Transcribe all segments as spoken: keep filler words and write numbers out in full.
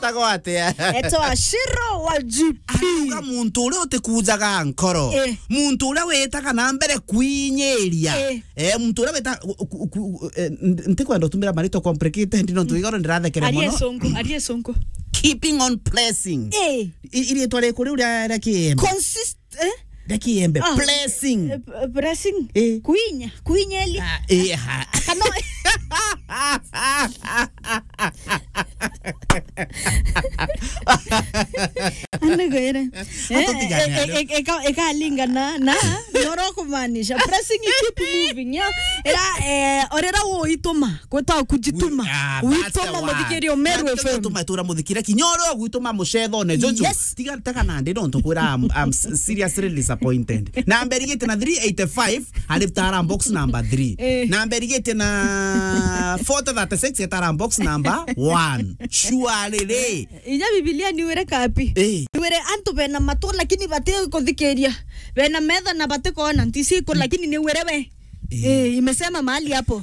Etagwa atia? Etwa Shiro wa G P. Arauga muntu uria utikujaga nkoro. Eh. Muntu uria witaga na mbere kwinyiria. Eh. Eh, muntu uria wita-, ku-, ku-, ku-, eh, n-, ntikwenda utumira marito complicated, no ntu igoro ndirathekere mono. Arie sungu, arie sungu. Keeping on pressing. Eh. I-, iritwa riku riu ria, ria Kiembe? Consist-, eh? Ria Kiembe. Ah. Pressing. Eh, p-, pressing. Eh. Kuinya, kuinyeli. Ah, eh, ha. Kana Anegwere. Atutiganane. Eh, eh, eh, eka-, ekalingana na noro kumaanisha. Pressing, keep moving, yeah. Era, eh, orera uituma, kweta kujituma. Ah, that's the one. Uituma muthikiria Meru F M. Tuma tura muthikire kinya ore gwituma mucethone, Jojo. Yes. Tiga taka nandi no ntukwira, I'm, I'm s-, seriously disappointed. Namba irigite na three eighty-five, ari tara box number three. Eh. Namba irigite na forty thirty-six, etara box number one. Sure riri. Inya Biblia niwire kapi? Eh. Niwire antu bena matu lakini bati kuthikiria. Bena metho na bati kuona, ntisi iku lakini niwire we. Eh. Eh, imesema mahali hapo.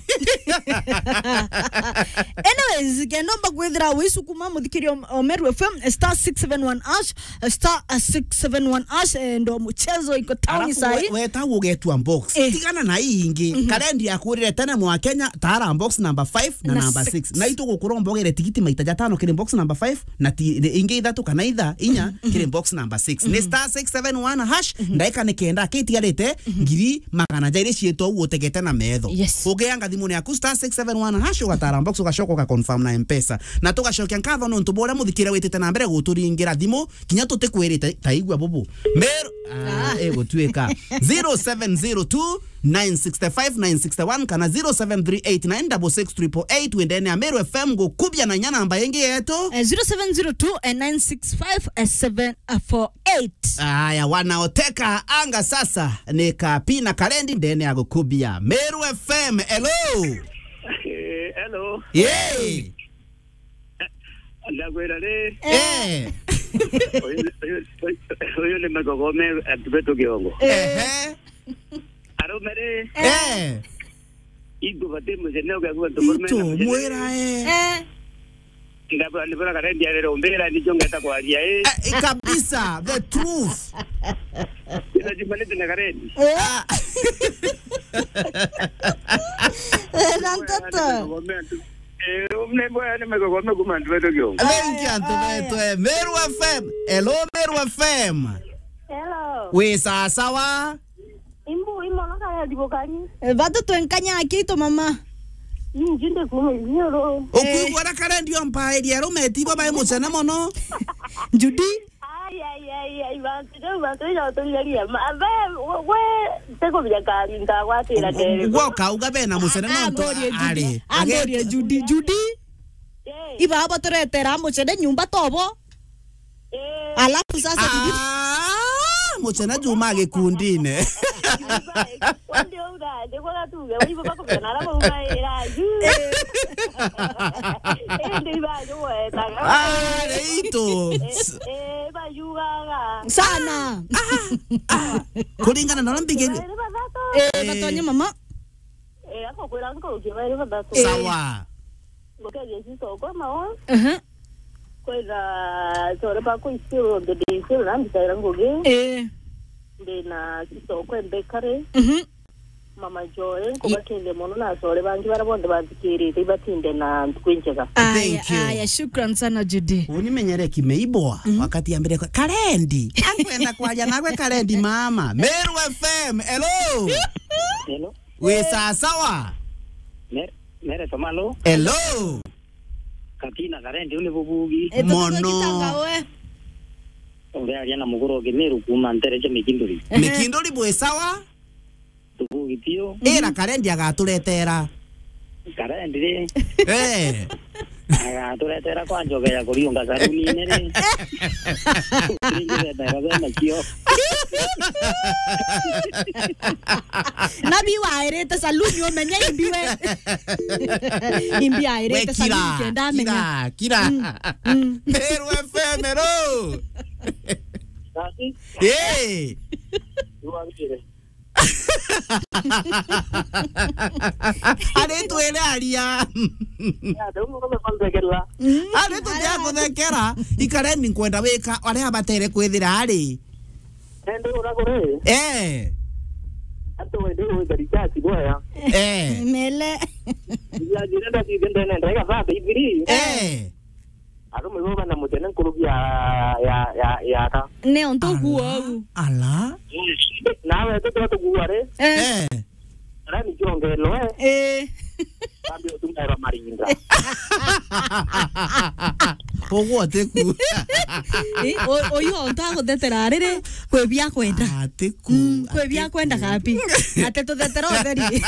Anyways, kenda umba kwithira wisukuma muthikiria o-, o Meru F M, star six seven one hash, star six seven one hash, eh, ndo muchezo iko town. Alafu sai. We-, weta ugetua box. Eh. Tigana na ii ingi. Mhm. Karendi yakurire tene mwa Kenya, tara box number five na number six. Na six. Na itu gukuromba ugere tigiti maita jatano kiri box number five, na ti, ingi ithatu kana itha, inya, mhm, kiri box number six. Ni, mhm, star six seven one hash, mhm, ndaika ni kenda, kitigarite, mhm, ngiri magana jairi cietwa u utegete na metho. Yes. Ugeanga thimuni yaku star six seven one hash, ugatara box, ugacoka ugaconfirm na M-Pesa. Na tugacokia nkatho nontu bwa uria muthikire witite na mbere guturingira thimu, kinya tutikwirite, ta igua bubu. Meru, ah, ah, eh, gutuika. Zero seven zero two, nine six five, nine six one kana zero seven three eight nine six six triple eight, wendene ya Meru F M gukubia na inya namba ingi yetu. Eh, zero seven zero two, eh, nine six five, eh, seven four eight. Aya, wanaoteka anga sasa ni Kapi na Karendi ndene ya gukubia. Meru F M, hello. Eh, hello. Yay. Ndakwira ri. Eh. Uyu, uyu, uyu, uyu ni Magogome, antu betu Kiongo. Eh. Ehe. Arume ri. Eh. Itu bati mucene ugaku antu murume. Itu na mucene. Mwira, eh. Eh. Ndabura ni bura Karendi arere umbira ni jonga ta kwaria, eh. Eh, kabisa, the truth. Ina jumani tena Karendi. Eh. Ah. Eh, na ntoto. Magogome antu. Eh, umne bwa ni Magogome kuma antu betu Kiongo. Thank you, antu betu, eh. Meru F M. Hello, Meru F M. Hello. Wi sawa sawa? Imbu, imono kaya ndibukani. Eh, batu twenkanya akito mama. Inji ndikume nyoro. Ukwigua na Karendi ompairia arume tibo bai mucene mono. Judy. Ai, ai, ai, ai, bantu jau, bantu jau turigaria. Ma, be, we, we, tikubinya kari, nkagwatira keri. Gwoka uga bena mucene nontu amborie Judy. Ari. Amborie Judy. Judy. Eh. Iba abo turetera mucene nyumba tobo. Eh. Alafu sasa bibi. Ah, mucene juma gikundine. Wende uga, ndikwaga tuge, wibo bakubena arabo uga ira ju. Eh. Eh, ndi iba ju wetaga. Ah, reito. Eh, eh, bayugaga. Sana. Ah, ah. Kuringana na uria mbigiri. Bairi bathatu. Eh, eh, batonye mama. Eh, akokwira nkurukia bairi bathatu. Eh. Sawa. Ngukeethia Jesu okwa mawa. Aha. Kwitha chore bakwa still on the day, still na mbitaira ngugi. Eh. Ndina sister okwa Mbekare. Mhm. Mama Joy, nkubakeethia mono na achore bangi baria bonthe bathikirite, ibatinde na ntuku injega. Aya, thank you. Aya, shukran sana, Judy. Uni menyere kimeiboa, mhm, wakati ambire kwa, Karendi. Ankwenda kwaria nawe Karendi, mama. Meru F M, hello. Hello. Wi sawa sawa? Mer-, Mere Tomalo. Hello. Katina Karendi, uni bubugi. Eh, mono. Tukugitangawe. Urearia na muguru wa Kimiru kuuma ntere cia Mikinduri. Ehe. Mikinduri bwi sawa? Tubugi tio. Ira Karendi agaturetera. Karendi ri. Eh. Agaturetera kwa njoge ya kuriunga saluni-ini ri. Ringi wetera bena kio. Na bi wairite saluni umenye imbi we. Imbi airite saluni kenda amenya. Kira, kira. Mm, mm. Meru F M, hello. Tati. Hey. Tuwagire. Ari twire aria. Ya, ndio mko kwa nzegela. Ari tutia kuthekera, ikare ni nkwenda wika aria abatere kwithira ari. Ende ura kuri? Eh. Atu wende wenda recharge boya. Eh. Mele. Ya, jina nda jinde nenda ika thate ibiri. Eh. Arume bo bana mutene nkuruki ya, ya, ya, ya ka. Ne onto guo au. Ala. Nawe tutu tuguare. Eh. Eh. Rani jongelwe. Eh. Kambi utumera marinda. Uguo tiku. Eh, o-, oyo onto aguthetera riri, kwi bia kwenda. Atiku. Mm, kwi bia kwenda kapi. Ate tuthetera utheri.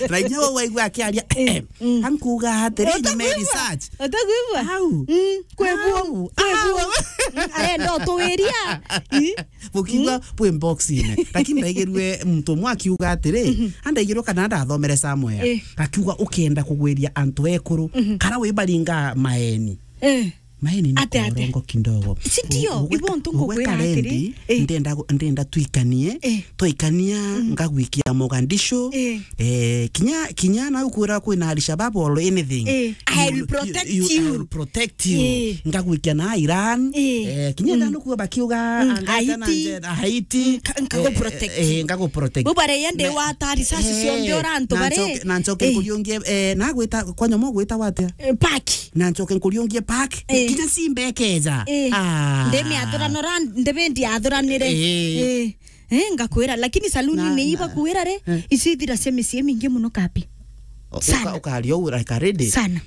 Rainya we waigua akiaria. Eh, mm. Ankuga atiri, nyuma ya research. Utakwigua? Au. Mm, kwi buo. Au. Kwi buo. Au. Mm, arenda utuwiria. Ii. Bukiuga bwi box-ine. Lakini ndaigirue muntu umwe akiuga atiri, andaigirue kana ndathomere somewhere. Eh. Akiuga ukienda kugwiria antu ekuru, kara wibaringa maeni. Eh. Maeni ni korongo kidogo. Si ndio? Ibo ntu ngukwira atiri, eh, ndenda, ndenda twikanie, eh, twaikania, ngagwikia Mogadishu. Eh. Eh, kinya, kinya nau kwira kwina Al-Shabaab or anything. Eh, I will protect you. I will protect you. Eh. Ngagwikia na Iran. Eh. Eh, kinya nanu kuo bakiuga, mm, angata na Haiti. Nje-, Haiti. Mm, ka-, nkagu protect. Eh, eh, ngagu protect. Bubare yende na, wa tari sasi, eh, cionthe ora antu na bare. Ncoke, na ncoke, eh, nkuriungie, eh, na gwita, kwa nyomo gwita watia? Eh, park. Na ncoke nkuriungie park. Eh. Kinya simbekeja. Eh. Ah. Ndimi athurano ra, ndibendi athuranire. Eh. Eh. Eh, ngakwira, lakini saluni na, ni iba na, kwira ri, eh, ici ithira cia micii mingi muno kapi. O-, sana. Uka-, ukaria u like a ready. Sana.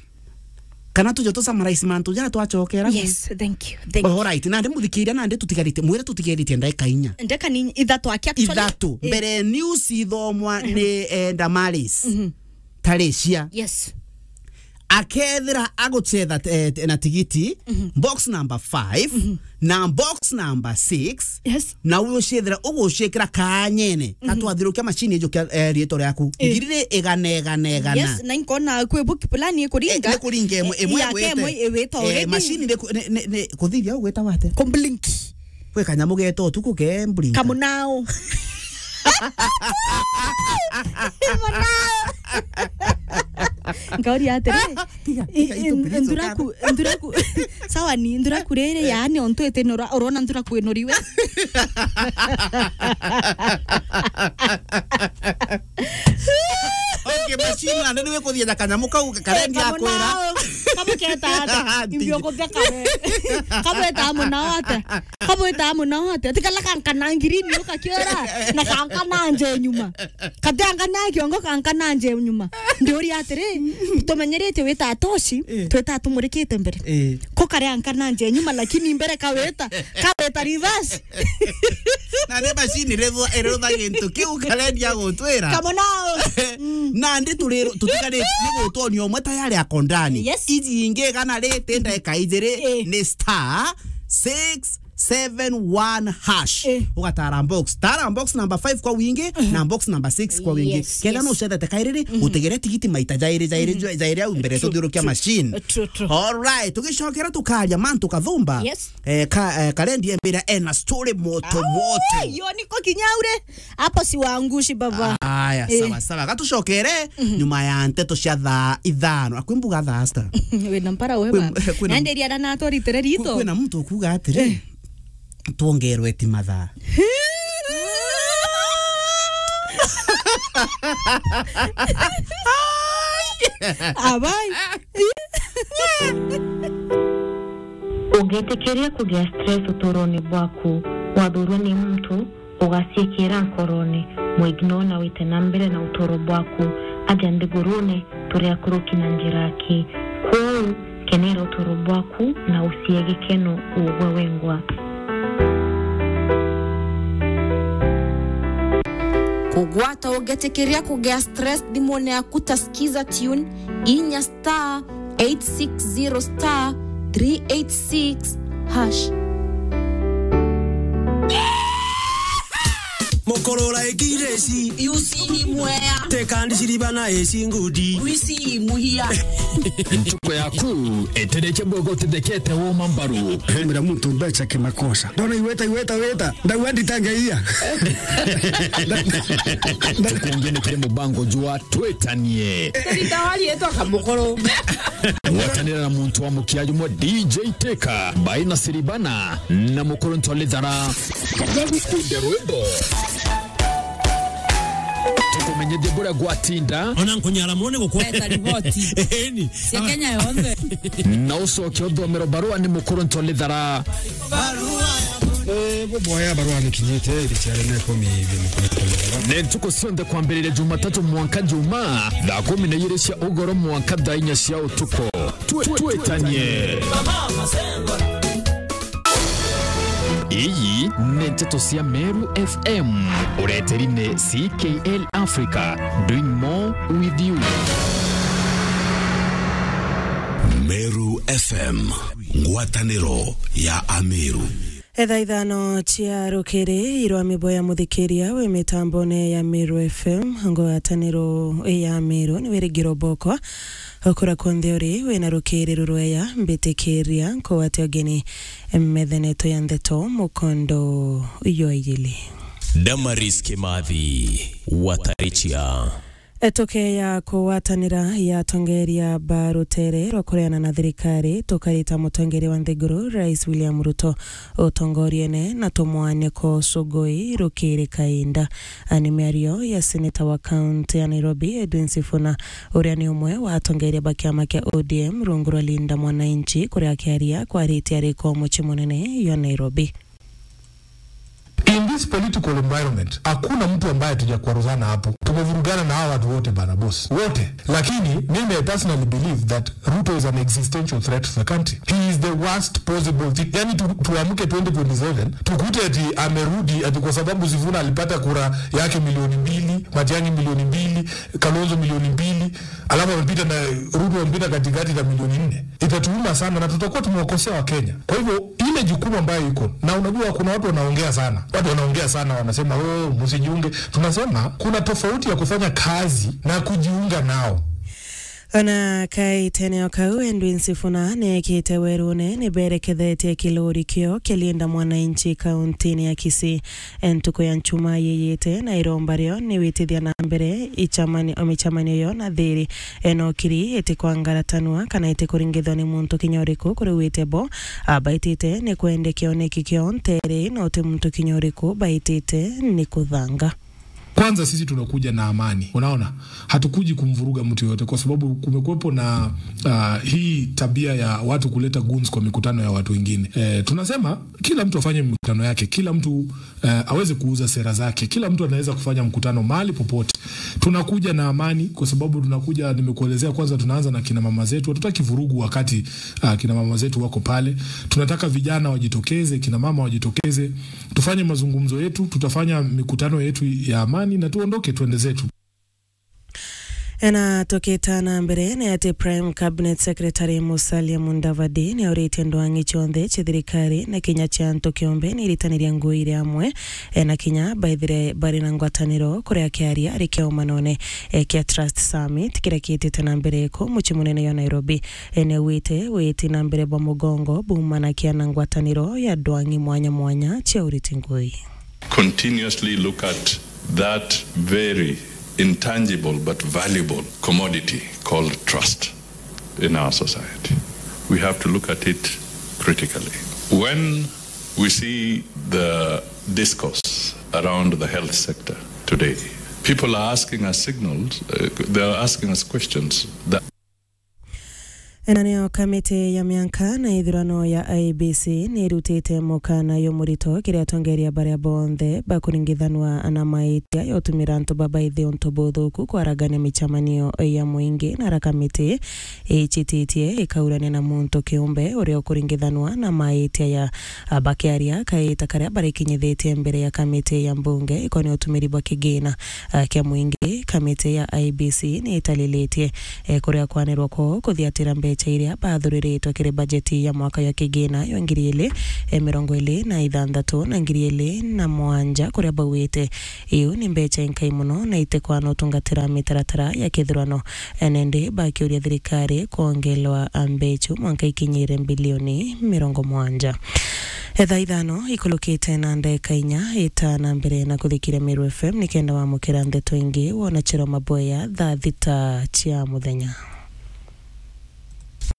Kana tujo tu summarize mantu ja twachokera. Yes, thank you, thank you. All right, nandi muthikiria, nandi tutigarite, mwire tutigarite ndagika inya. Ndeka ni ithatu aki actually. Ithatu. Eh. Mbere news ithomwa ni, eh, Damaris. Mhm. Taricia. Yes. Akethira aguchetha, eh, na tigiti, box number five, na box number six, yes, na ugucethira uguciikira kanyene, gatwathirukia macini ijukia, eh, riitwa riaku. Eh. Ngiri ri igana, igana, igana. Yes, na inkona kwi book plan ikuringa. Eh, ni kuringa imwe, eh, imwe yake igwite. Imwe igwite already. Eh, macini ni ku-, ni, ni, ni kuthithia ugwita wate? Kublink. Kwi kanyamu geeta utuku ke mbrinka. Kamunao. Munao. Nkauria atiri, tiga, i-, tiga, i-, itu, please, nduraku, nduraku, sawa ni, nduraku riri, yaani ontu iti nora-, urona nduraku inuriwe. Okay, machine, na ndio kuthia na kanyamu kau karendi akwira. Kamunao. Kamu keta ata? Imbio kutheka we. Kamu eta munao ata? Kabwita munao atia? Ti kala kankana ngirini ukakiora, na kankana nje nyuma. Kati ankana kiongo, kankana nje nyuma. Ndiuria atiri, tumenyerete wita atoshi, eh, twita tumurikite mbere. Eh. Ko kare ankana nje nyuma, lakini mbere kaweta, kaweta reverse. Na ni macini rirutha, rirutha gintu kiu karendia gutwira. Kamunao. Mm. Nandi turi, tutigarite ni gutwonia umwe tayari ako ndani. Yes. Iji ingi igana riti ndagika ijiri, eh, ni star six seven one hash. Eh. Ugatara box. Tara box number five kwa wingi, mhm, na box number six kwa wingi. Yes, kenda, yes, no ucethete kairiri, mhm, utegere tigiti maita jairi, jairi, mhm, jairi au mbere, true, tuthiurukia, true, machine. True, true. All right, tugicokera tukaria mantu kathumba. Yes. Eh, ka, eh, karendi embira ena story moto, ah, moto. Yo niko kinyaure. Hapo si waangushi baba. Aya, eh, sawa, sawa. Gatucokere, mhm, nyuma ya nteto cia thaa ithano. Akwi mbuga thaa sita. Wina mpara we, kwina, baba. Kwina, nandi riana na atwaritire rito. Kwina muntu ukuga atiri, eh, twongerwe ti mathaa. Abai. Ungitikiria kugia stress uturone bwaku, wathurwa ni muntu, ugaciikira nkorone, mwignore na wite na mbere na uturo bwaku. Aja nthigurune, turi akuruki na njira aki. Kwou, kenera uturo bwaku na ucie gikeno ugwe wengwa. Kugwata ugetikiria kugia stress thimune yaku ta Skiza Tune, inya star eight six zero star three eight six hash. Kurura ikireci. Yusi imwea. Tekandi ciriba na eci ngudi. Wisi imuhia. Ntuko yaku etereche bwego tithekete woma mbaru. Mira muntu mbecha kimakosa. Ndona iweta, iweta, weta. Ndagua nditangeia. Tukungi ni kiri mubango jwa twetanie. Rita wari etwa kamukuru. Gwatanira na muntu wa mukia jumwe D J Teka, Baina Siribana, na mukuru Ntolithara. Tukunge rwimbo. Tukumenyithie buria gwatinda. Ona nkunyara mone gukwa. Eta riboti. Eni. Cia Kenya yonthe. Na ucoke uthomero barua ni mukuru Ntolithara. Eh, buboya barua nikinyite, iri ciari na ikumi ibi mukuru Ntolithara. Ni ntuku cionthe kwambiriria Jumatatu mwanka Juma, thaa kumi na igiri cia ugoro mwanka thaa inya cia utuku. Twe-, twetanie. Iyi ni nteto cia Meru F M. Ureteri ni C K L Africa, doing more with you. Meru F M, ngwataniro ya Ameru. Etha ithano cia rukiri, irwa miboya muthikiria wi mitambone ya Meru F M, ngwataniro ya Meru ni wirigiro bokwa. Okura kwonthe uri, wina rukiri rurweya, mbitikiria nkugwate ugeni methaneto ya ndeto mukondo jwa ijili. Damaris Kimathi, Watarichia. Etuke ya kugwatanira ya atongeria ba rutere rwa kureana na thirikari, tukarita mutongeria wa nthiguru, Rais William Ruto, utongoriene na tumwaniko Sugoi rukiri kainda. Ni miario ya seneta wa kaunti ya Nairobi, Edwin Sifuna, uria ni umwe wa atongeria ba kiama kia O D M rungu rwa Linda Mwananchi, kuria akiaria kwarite ariko mucii munene jwa Nairobi. In this political environment, hakuna mtu ambaye hatujakwaruzana hapo. Tumevurugana na hawa watu wote bana boss. Wote. Lakini mimi I personally believe that Ruto is an existential threat to the country. He is the worst possible thing. Yani tu, tuamke twenty twenty-seven, tukute ati amerudi ati kwa sababu Sifuna alipata kura yake milioni mbili, Matiang'i milioni mbili, Kalonzo milioni mbili, alafu amepita na Ruto amepita katikati na milioni nne. Itatuuma sana na tutakuwa tumewakosea Wakenya. Kwa hivyo, ile jukumu ambayo iko, na unajua kuna watu wanaongea sana. Watu wanaongea sana, wanasema, "Oh, msijiunge." Tunasema kuna tofauti ya kufanya kazi na kujiunga nao. Ona kaiteneo kau, Edwin Sifuna neekite werune niberekethetie kilori kio kia Linda Mwananchi kauntini ya Kisii. Ntuku ya Nchuma yiyite na iromba rio ni witithia na mbere ichamani-, o michamanio yo na thiri. Eno kiri itikwangaratanwa kana itikuringithwa ni muntu kinya uriku kuri wite bo. Abaitite ni kwende kioneki kio ntere, no ti muntu kinya uriku baitite ni kuthanga. Kwanza sisi tunakuja na amani. Unaona? Hatukuji kumvuruga mtu yoyote kwa sababu kumekuwepo na, ah, hii tabia ya watu kuleta goons kwa mikutano ya watu wengine. Eh, tunasema kila mtu afanye mikutano yake, kila mtu, eh, aweze kuuza sera zake, kila mtu anaweza kufanya mkutano mahali popote. Tunakuja na amani kwa sababu tunakuja, nimekuelezea kwanza tunaanza na kina mama zetu. Hatutaki vurugu wakati, ah, kina mama zetu wako pale. Tunataka vijana wajitokeze, kina mama wajitokeze. Tufanye mazungumzo yetu, tutafanya mikutano yetu ya amani na tuondoke, tuende zetu. Ena tukita na mbere ni ati Prime Cabinet Secretary Musalia Mudavadi ni auritie ndwang'i cionthe cia thirikari na kinya cia antu kiumbe ni iritanirie ngui iri amwe, e, na kinya baithire bari na ngwataniro, kuria akiaria ari kiumanone, e, kia Trust Summit kiria kiitite na mbere ku mucii munene jwa Nairobi. E, ni augite witi na mbere bwa mugongo bumanakia na ngwataniro ya ndwang'i mwanya mwanya cia uriti ngui. Continuously look at that very intangible but valuable commodity called trust in our society. We have to look at it critically. When we see the discourse around the health sector today, people are asking us signals, uh, they are asking us questions that Ena niyo kamiti ya mianka na ithurano ya I E B C ni irutite mukana jumurito kiri atongeria baria bonthe bakuringithanwa na maitia ya utumira antu babaithi untu buthuku kwaragania micemanio ya muingi, na ara kamiti ichititie ikaurania na muntu kiumbe uria ukuringithanwa na maitia ya, a, bakiaria kaita karia barikinyithitie mbere ya kamiti ya mbunge ikonia utumiri bwa kigina, a, kia muingi, kamiti ya I E B C ni italilitie e, kuria kwanirwa kwoo kuthiatira mbecha iria bathuriritwe kiri bajeti ya mwaka ya kigina ya ngiri ili e mirongo iri na ithanthatu na ngiri iri na mwanja kuria bauite iu ni mbecha inkai mono na itikwana utungatira mitaratara ya kithurano. Ene ndi bakiuria thirikari kwongelwa mbecha mwanka ikinyire bilioni mirongo mwanja. Etha ithano ikulukite na ndeka inya, ita na mbere na kuthikiria Meru F M nikenda wamukira ndeto ingi wona chiro maboya thaa thita cia muthenya.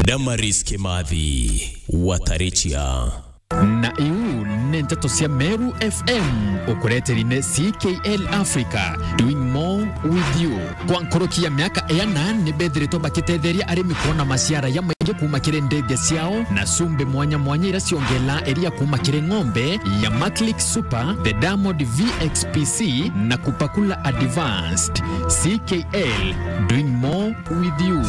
Damaris Kimathi, Watarichia. Na iu ni nteto cia Meru F M, ukureteri ni C K L Africa, doing more with you. Kwa nkuruki ya miaka iana, ni bethiritwe bakitetheria arimi kwona maciara ya maingi kuma kiri ndege ciao na cumbi mwanya mwanya iria ciongelaa iria kuma kiri ng'ombe ya Maclick Super, the Diamond V X P C na Kupakula Advanced. C K L, doing more with you.